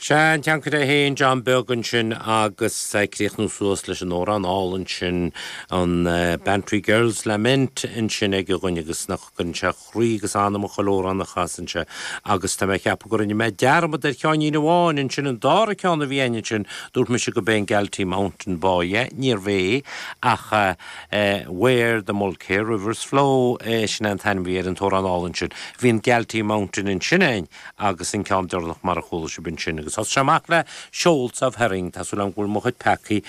Sea, an tSeanchaire é féin, John Beag ansin agus ag críochnú suas leis an amhrán álainn sin, an Bantry Girl's Lament ansin aige dhúinn agus nach gcuireann sé croí agus anam i chuile amhrán a chasann sé agus tá mé ag ceapadh go rinne mé dearmad ar cheáinín amháin ansin, an dara ceann a bhí againn ansin, dúirt mise go b'é an Galtee Mountain Boy é, níorbh é ach Where the Mulkear Rivers Flow, sin é an t-ainm a bhí ar an t-amhrán álainn sin. Bhí an Galtee Mountain ansin againn agus an ceann deireanach mar a chuala sibh ansin. Agus thosaigh sé amach le Shoals of Herring, tá súil agam go bhfuil mo chuid peacaí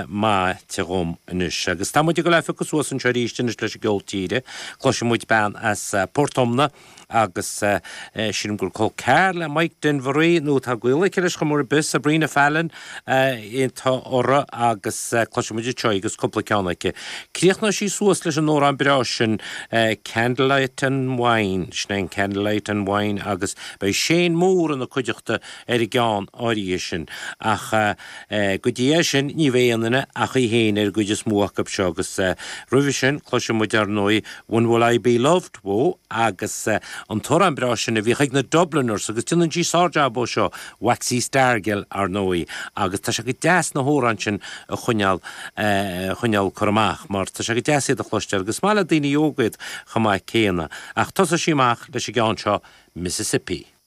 maite dhom anois. Agus tá muid ag dul a phiocadh suas anseo arís anois leis an gceol tíre. Cloisfidh muid bean as Port Omna agus sílim gur col ceathar le Mike Denver í, nó tá gaol aici leis chuma ar bith, Sabrina Fallon atá uirthi agus cloisfidh muid anseo í agus cúpla ceann aici. Críochnóidh sí suas leis an amhrán breá sin Candlelight and Wine, sin é an Candlelight and Wine agus beidh Shane Moore ina cuideachta ar an gceann áirithe sin. Ach go dtí é sin ní bheidh aon duine ach í féin ar an gcuid is mó acu seo agus roimhe sin cloisfidh muid ar ndóigh When Will I Be Loved? Whoa, agus an t-amhrán breá sin a bhíodh ag na Dubliners agus déanann sí sár-jab ó seo, Waxy Stargell, ar ndóigh, agus tá sé go deas na hamhráin sin a choinneáil, a choinneáil cur amach mar tá sé go deas iad a chloisteáil agus is maith le daoine óga iad chomh maith céanna. Ach tosóidh sí amach leis an gceann seo, Mississippi.